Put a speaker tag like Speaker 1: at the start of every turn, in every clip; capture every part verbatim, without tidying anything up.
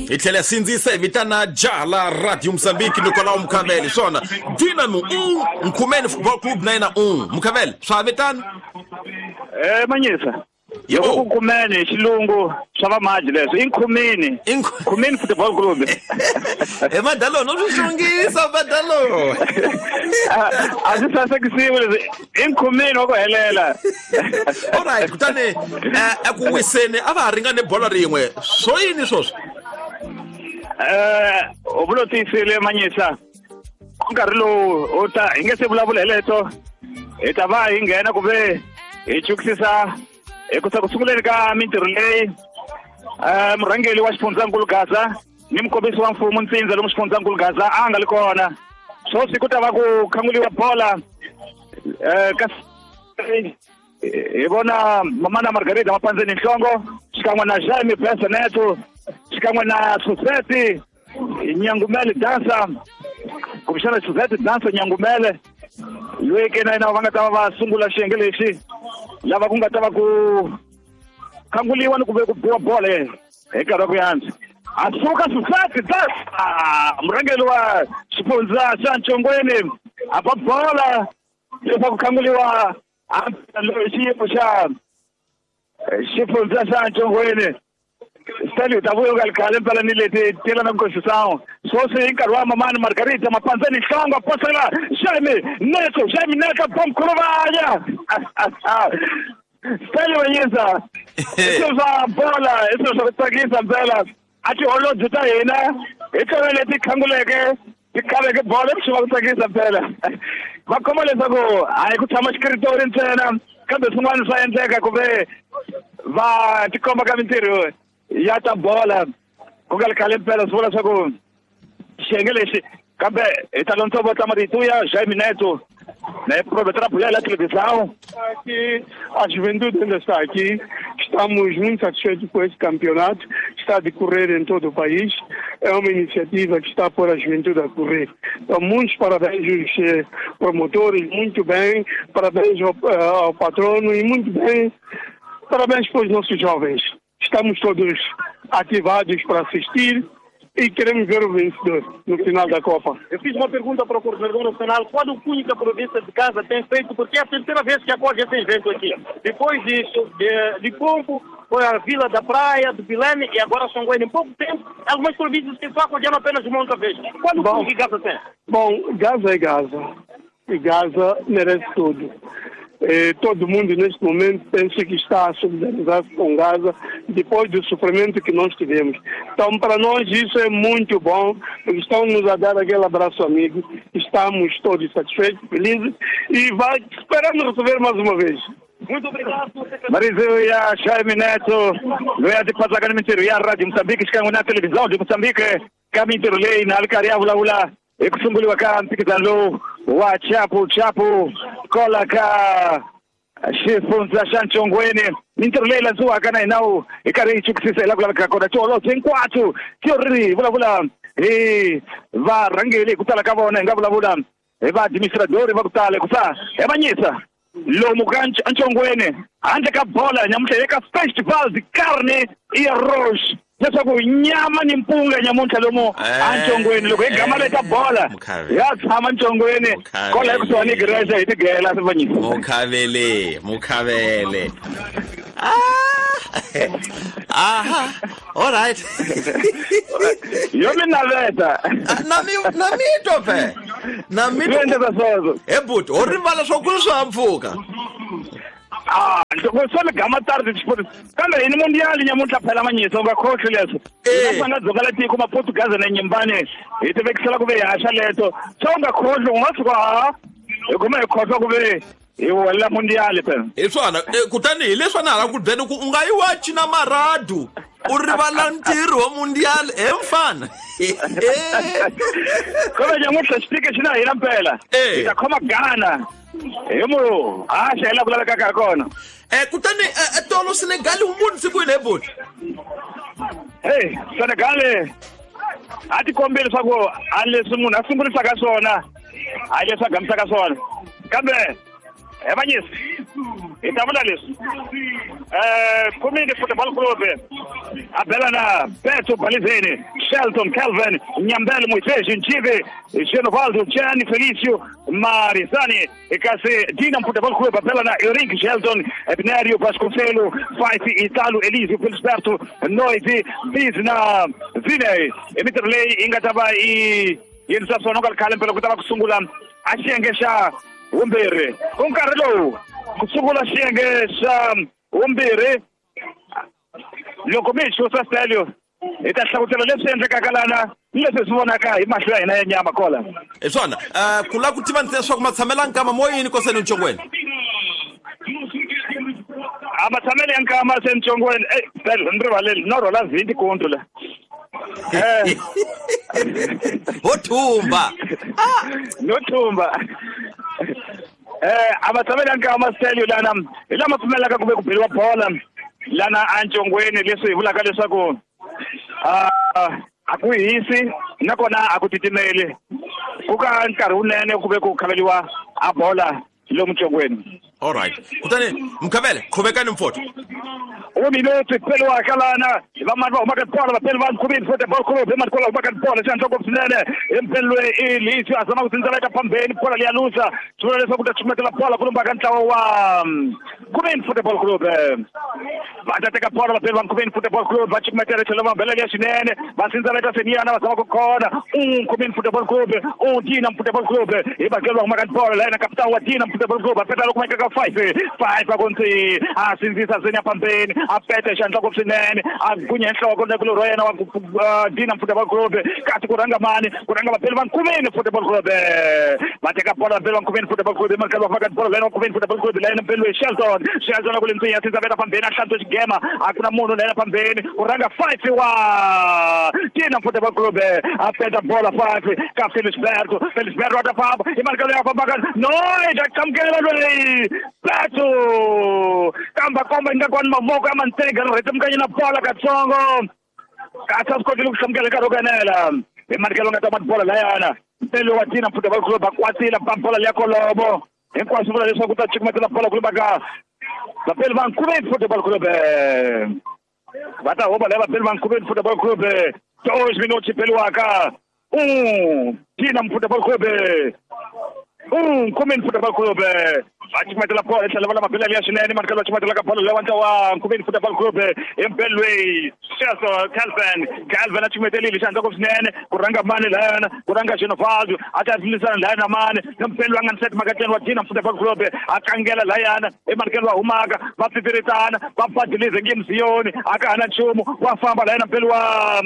Speaker 1: Hi tlhela sindzisa hi vitana jaha la Radio Moçambique Nicolau Mukhavele swona Dinamo um Nkhumeni Football Club na yena um Mukhavele swa vitana
Speaker 2: eh manyisa yebo ku Nkhumeni xilungu swa vamaji leswi i Nkhumeni Nkhumeni Football Club
Speaker 1: e madalo no swi xongisa madalo
Speaker 2: a swi sasekisiwi leswi i Nkhumeni wa ku helela.
Speaker 1: Alright kutani eku wiseni a va ha ringane bolo rin'we swo yini swoswo
Speaker 2: eh u vulo tiyisile manyisa nkarhi lowu u ta hi nge se vulavula hi leto hi ta va hi nghena ku ve hi chukisisa hi ku ku sunguleni ka mintirho leyi eh murhangeri wa xifundzankulu Gaza ni mukombisi wa mfumo Ntsindza lomu xifundzankulu Gaza a nga li kona swoswi ku ta va ku khanguliwa bola eh ka hi vona mamana Margarita Mapandzeni Nhlongo xikan'we na Jaime Pesaneto xikan'we na Suzette Nyangumele dansa kumbexana Suzette dansa Nyangumele loyi ke na yena va nga ta va va sungula xiyenge lexi lava ku nga ta va ku khanguliwa ni ku ve ku biwa bola hi nkarhi wa ku yantswa a suka Suzette dansa murhangeri wa xifundza xa Ntshongweni a ba bola leswaku khanguliwa xiyimo xa xifundza xa Ntshongweni Stélio ta vuya ka khale mpela ni leti tela na Constituição swoswi hi nkarhi wa mamani Margarita Mapandzeni Nhlongo posela Jaime Neto Jaime Neto bomkhuluvanya Stélio yisa i swilo swa bola i swilo swa ku tsakisa mpela a tiholobye ta hina hi tona leti khanguleke ti khaveke bola i swilo swa ku tsakisa mpela va khoma leswaku hayi ku tshama xikiritori ntsena kambe swin'wana swa endleka ku ve va tikomba ka mintirho ya ta bola ku nga ri khale mpela swi vula leswaku xiyenge lexi kambe hi ta lontsongo vo marito ya Jaime Neto na aproveitar a televisão.
Speaker 3: Aqui, a juventude ainda está aqui, estamos muito satisfeitos com esse campeonato, está a decorrer em todo o país, é uma iniciativa que está a pôr a juventude a correr. Então, muitos parabéns aos promotores, muito bem, parabéns ao, ao patrono e muito bem, parabéns para os nossos jovens. Estamos todos ativados para assistir e queremos ver o vencedor no final da Copa.
Speaker 4: Eu fiz uma pergunta para o coordenador nacional, qual o cunho que a província de Gaza tem feito, porque é a terceira vez que acolhe esse evento aqui. Depois disso, de Limpopo, foi a Vila da Praia, do Bilene e agora Songoene. Em pouco tempo, algumas províncias que só acolheram apenas uma outra vez. Qual o cunho que Gaza tem?
Speaker 3: Bom, Gaza é Gaza. E Gaza merece tudo. Eh, todo mundo neste momento pensa que está a solidarizar-se com Gaza depois do sofrimento que nós tivemos. Então, para nós isso é muito bom, porque estão nos a dar aquele abraço amigo, estamos todos satisfeitos, felizes e vai, esperamos receber mais uma vez.
Speaker 4: Muito obrigado.
Speaker 2: Marizu ya Jaime Neto, loyi a tipatsaka ni mintirho ya Radio Moçambique xikan'we na televisão de Moçambique ka mintirho leyi na a ri karhi ya vulavula hi ku sunguriwa ka mphikizano lowu wa Chapu Chapu kola ka xifundza xa Ntshongweni mintirho leyi landziwaka na hina wu hi karhi hi chukisisa hi laha ku lavekaka kona tiholobye hinkwato ti ri hi vulavula hi varhangeri hi ku tala ka vona hi nga vulavula hi vaadministradori va ku tala hikusa hi vanyisa lomu ka Ntshongweni handle ka bola nyamuntlha eka Festival de Carne e Arroz leswaku nyama ni mpunga nyamuntlha lomu eNtshongweni loko hi gama leta bola ya tshama Ntshongweni kola ekusuhani igreja hi tigela sivanyisa
Speaker 1: Mukhavele Mukhavele ah aha all right
Speaker 2: yo mi naveta
Speaker 1: na mi na mi twa phe na mi
Speaker 2: twa
Speaker 1: he buti ho rivala swa ku swa mpfuka
Speaker 2: Ah, loko swo mi gama tarde xipoti kambe hi ni mundial nyamuntlha phela manyisa u nga khohlwi leswo hina nga dzoka la tiko maportugaza na nyimbane hi ti vekisela ku ve hi haxa leto swa u nga khohlwi u nga tshuka ha hi kuma hi khohlwa ku ve hi welela mundial phela
Speaker 1: hi swona kutani hi leswi na hala ku byela ku u nga yi wachi na maradu u rivala ntirho wa mundial he mfana
Speaker 2: kambe nyamuntlha xitike xi na hina mpela hi ta khoma Ghana hi mu haxa hi laha ku lavekaka ha kona
Speaker 1: eh kutani tolo Senegal wu vonise ku yini he buti
Speaker 2: hey Senegal a ti kombile leswaku a leswi munhu a sungurisaka swona a leswi a gamisaka swona kambe he vanyisi hi ta vula leswi um Khumini Football Club A bela na Beto Balizene, Shelton, Calvin, Nyambele, Moisés, Nchive, Genovaldo, Gianni, Felicio, Marizani, kasi Dinamo Futebol Clube, a bela na Eurico, Shelton, Ebnerio, Vasconcelo, Faifi, Italo, Elisio, Felisberto, Noite, Bizna, Zine, Emitrley, Ingataba e Yensasononga Kalempelo kutava kusungula a xiyenge xa vumbirhi. Ku nkarhi lowu ku sungula xiyenge xa vumbirhi loko mi hi xusa Stelio hi ta hlavutela leswi endlekaka lana ni leswi swi vonaka hi mahlo ya hina ya nyama kola.
Speaker 1: Hi swona ku lava ku tiva ntsena leswaku matshamelo ya nkama mo yini koseni ntsongweni?
Speaker 2: A matshamelo ya nkama se ntsongweni, eh Stelio ni rivaleli no rhola vhinti kuntu la. Eh
Speaker 1: ho thumba.
Speaker 2: No thumba. Eh a matshamelo ya nkama Stelio lana hi lama pfumelaka ku ve ku beriwa bola lana antsongweni leswi hi vulaka leswaku a a ku hisi nakona a ku titimeli ku ka nkarhi wunene ku ve ku khaveliwa a bola lomu ntsongweni.
Speaker 1: All right. Kutani Mkhavele qhubekani mfowethu.
Speaker 2: Um minuto peliwaka lana vamani va humaka bola vapeli va Nkhumeni Football Club emani kwala humaka bola xandla ngopfu swinene empelwe Elisio a zama ku tsindzela phambeni bola liya lusa swi vula leswaku ta chumetela bola ku lombaka ntlawa wa Nkhumeni Football Club. Va ta teka bola vapeli va Nkhumeni Football Club va chumetela tlhelo va bela liya swinene va tsindzela seniyana va zama ku khona Nkhumeni Football Club u Dinamo Football Club hi bakelo va humaka bola la yena kapitani wa Dinamo Football Club a peta loko ka five five a konti a sindzisa senya phambeni a peta xandla ngopfu swinene a gunya nhloko na kulorho yena wa Dinamo Football Club kasi ku rhanga mani ku rhanga vapeli va Nkhumeni Football Club va teka bola vapeli va Nkhumeni Football Club emakaya va faka bola lena Nkhumeni Football Club lena mpeli Shelton Shelton a ku le ntsinya sindzisa veta phambeni a hlantswa xigema a ku na munhu lena phambeni ku rhanga five wa Dinamo Football Club a peta bola five ka Felisberto Felisberto a ta famba i mali ya fambaka no ida qamukela loyi Beto kamba komba ingaku ni mavoko ya mantega ri rhetemukanye na bola katsongo kasi a swi kotile ku hlamukela nkarhi wo kanela hi manikelo nga ta ma bola layana mpelo wa Dinamo Football Club va kwatile ba bola liya kolomo hinkwaswo vula leswaku ta cukumetela bola ku ka vapeli va Nkhumeni Football Club va ta huma laya vapeli va Nkhumeni Football Club dois minutos peliwaka um Dinamo Football Club um Nkhumeni Football Club va cukumetela bola etlhela va lama bela liya swinene manikelo va cukumetela ka bola leyi wa Nkhumeni Football Club empelwe Shelton Calvin Calvin a cukumetelile xandla ngopfu swinene ku rhanga mani layana ku rhanga Genovaldo a ta lwisana layana mani na mpelo a nga ni set makateni wa Dinamo Football Club a kangela layana emanikelo va humaka va pfipfiritana va badilize nge mziyoni a ka ha na nchumu wa famba layana mpelo wa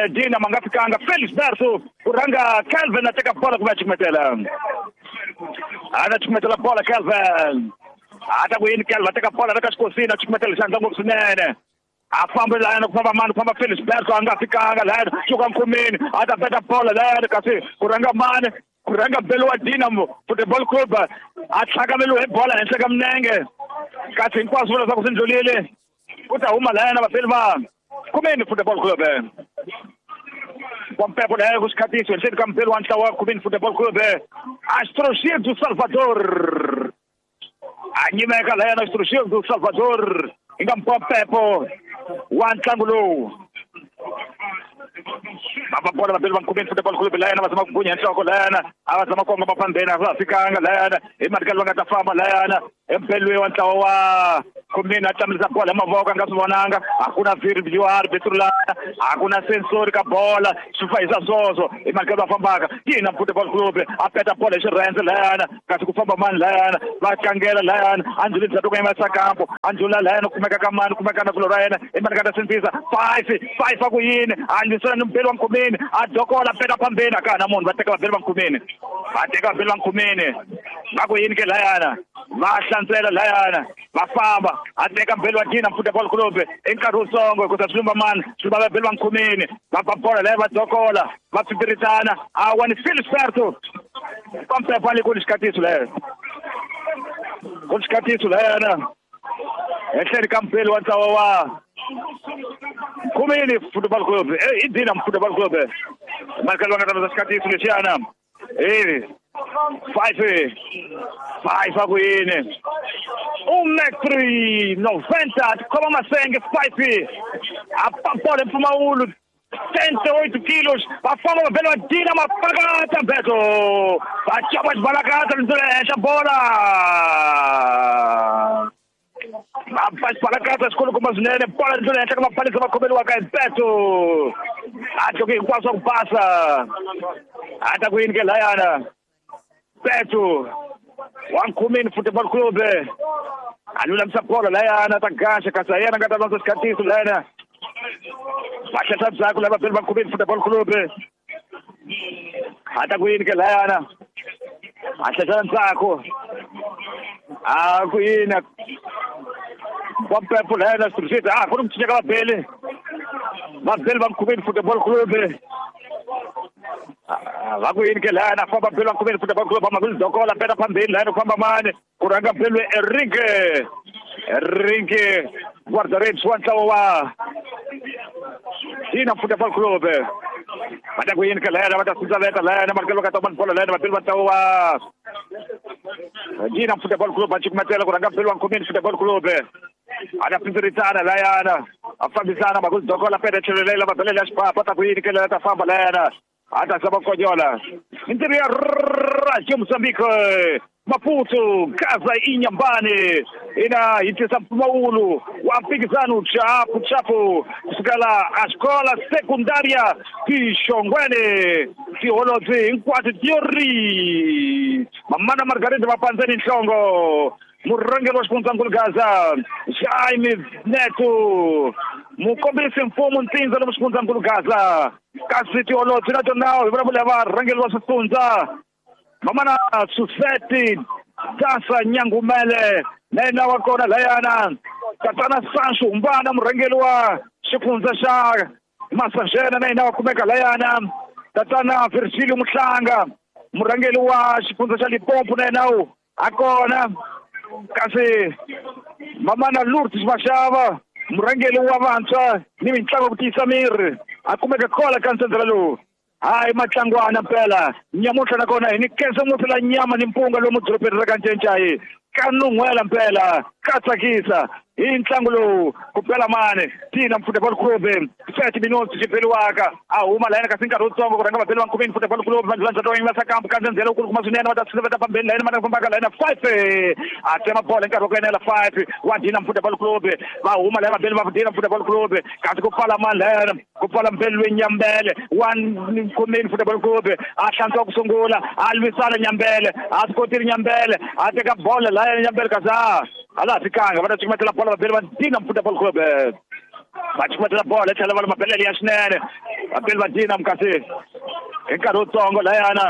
Speaker 2: Dinamo a nga fikanga Felisberto ku rhanga Calvin a teka bola ku va cukumetela a ta cukumetela bola Calvin a ta ku yini Calvin a teka bola ka xikosini a cukumetela xandla ngopfu swinene a famba layana ku famba mani ku famba Felisberto a nga fikanga layana suka Nkhumeni a ta peta bola layana kasi ku rhanga mani ku rhanga belo wa Dinamo Football Club a tlhakameliwe hi bola henhla ka minenge kasi hinkwaswo vula leswaku swi ndlulile ku ta huma layana vapeli va Nkhumeni Football Club Pompepo laya ku xikhatiso henhleni ka mpelo wa ntlawa wa Nkhumeni Football Club Astrogir do Salvador a nyimeka layana Astrogir do Salvador hi nga Pompepo wa ntlangu lowu va bola vapeli va Nkhumeni Football Club layana va zama ku gunya nhloko layana a va zama kongoma phambeni a va fikanga layana hi manikelo va nga ta famba layana empelwe wa ntlawa wa Nkhumeni a tlamulisa bola hi mavoko a nga swi vonanga hakuna V R betru lana hakuna sensori ka bola swi fahisa swoswo hi manikelo va fambaka Dinamo Football Club a peta bola hi xirhendze layana kasi ku famba mani layana va kangela layana a ndlhuli ndzhaku ka yima sakampo a ndlhula layana kumeka ka mani kumeka na kulo ra yena hi manikelo ta sindzisa five five a ku yini a ndlisana ni mpelo wa Nkhumeni a dokola peta phambeni a ka ha na munhu va teka vapeli va Nkhumeni va teka vapeli va Nkhumeni va ku yini ke layana va hlantswela layana va famba a teka mbeli wa Dinamo Football Club i nkarhi wutsongo hikuza swi lumba mani swi lumba vapeli va Nkhumeni va ba bola laya va dokola va pfipfiritana a wani Felisberto Pompepo a le ku ni xikhatiso leyo ku ni xikhatiso layana henhleni ka mpeli wa ntlawa wa Nkhumeni Football Club i Dinamo Football Club manikelo va nga ta xikhatiso lexiyana e five five a ku yini Um metro e noventa, khoma masenge five a papola mpfumawulo setenta e oito quilos, va famba va bela va dina mapakata mbeto va chapa xibalakata ndzi le henhla bola va ba xibalakata xikulukumba swinene bola ndzi le henhla ka maphalisa va khomeliwaka hi mbeto a tloke hinkwaswo swa ku basa a ta ku yini ke layana Beto wa Nkhumeni Football Club a lulamisa bolo layana ta gaxa kasi yena nga ta landza xikhatiso layana va hlehla ndzhaku lava vabeli va Nkhumeni Football Club a ta ku yini ke layana a hlehla ndzhaku a ku yini Vampepo layana switirhiseti a ku ri ku cinca ka vabeli vabeli va Nkhumeni Football Club va ku yini ke layana famba beli va Nkhumeni Football Club va dokola peta phambili layana ku famba mani ku rhanga beli Enrique Enrique guarda-redes wa ntlawa wa Dina Football Club va ta ku yini ke layana va ta sudzaveta layana va ka ta bolo layana vabeli va ntlawa wa Dina Football Club va cukumetela ku rhanga beli wa Nkhumeni Football Club a ta pindziritana layana a fambisana makulu dokola peta tlhelo leyi lava belele ya xipapa ta ku yini ke layana ta famba layana a ta zama konyola mintirho ya Radio Mozambique Maputo Gaza Inhambane ina yi tisa mpfumawulo wa mphikizano chapu chapu kusukela a xikola sekundaria Tixongwene tiholobye hinkwato tiori Mamana Margarida va pandzeni nhlongo murhangeri wa xifundzankulu Gaza Jaime Neto mukombisi mfumo ntsindza lomu xifundzankulu Gaza kasi tiholobye na tona hi vulavula varhangeri wa swifundza Mamana Suseti Tasa Nyangumele na yena wa kona layana Tatana Sancho Humbana murhangeri wa xifundza xa Massaxena na yena wa kumeka layana Tatana Virgilio Muhlanga murhangeri wa xifundza xa Limpopo na yena a kona kasi Mamana Lourdes Mashava murhangeri wa vantshwa ni mitlangu ku tiyisa miri a kumeka kola ka ntsendzela lowu hayi matlangwana mpela nyamutlha nakona hi nikeza ngopfu la nyama ni mpunga lomu dorobeni ra ka Ncencai ka nun'hwela mpela ka tsakisa hi ntlangu lowu ku pela mani Dina Football Club thirty minutes xi beliwaka a huma layena kasi nkarhi wutsongo ku rhanga vabeli va Nkhumeni Football Club va landza va sakambu ka ndzhendzelo wu kulukumba swinene va ta tshineta phambeni layena va fambaka layena five a tsema bolo hi nkarhi wa ku enela five wa Dina Football Club va huma layena vabeli va Dina Football Club kasi ku pfala mani layena ku pfala mbeli loyi Nyambele wa Nkhumeni Football Club a hlantswa ku sungula a lwisana Nyambele a swi kotile Nyambele a teka bolo layena Nyambele kasi a a laha fikanga va ta cukumetela bolo vabeli va Dina Football Club va cukumetela bolo yi tlhela va mabelele ya swinene vabeli va Dina kasi hi nkarhi wutsongo layana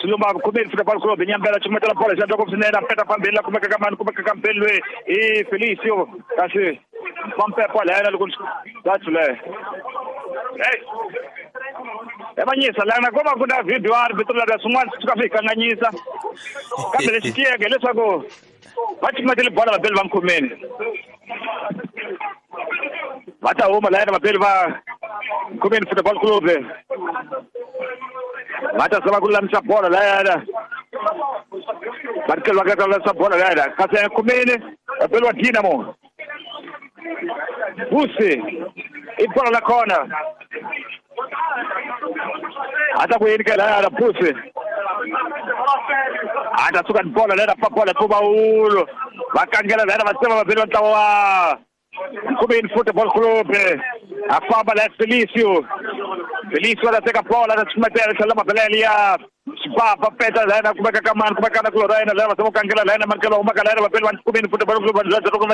Speaker 2: Swilumba Nkhumeni Football Club Nyambele cukumetela bolo xi endla swinene a peta phambili la kumeka ka mani kumeka ka mbeli loyi i Felicio kasi Vampepo layana loko that's le hey evanyisa lana ko va ku na video a ri vito la swin'wana swi suka swi hi kanganyisa kambe lexi tiyeke hileswaku va cukumetele bolo vabeli va Nkhumeni va ta huma layena vabeli va Nkhumeni Football Club va ta zama ku lulamisa bolo layena va ri va ta lulamisa bolo layena kasi Nkhumeni vabeli va Dinamo Busi i bolo la kona a ta ku yini ke layana Busi a ta suka ni bolo layena fa bolo mpfumawulo va kangela layena va tsema vabeli va ntlawa wa Nkhumeni Football Club a famba la Felicio Felicio a ta teka bolo a ta cukumetela tlhela mabelele ya xipapa peta layena kumeka ka mani kumeka na kulora yena layena va zama ku kangela layena manikelo humaka layena vabeli va Nkhumeni Football Club va ndlela ku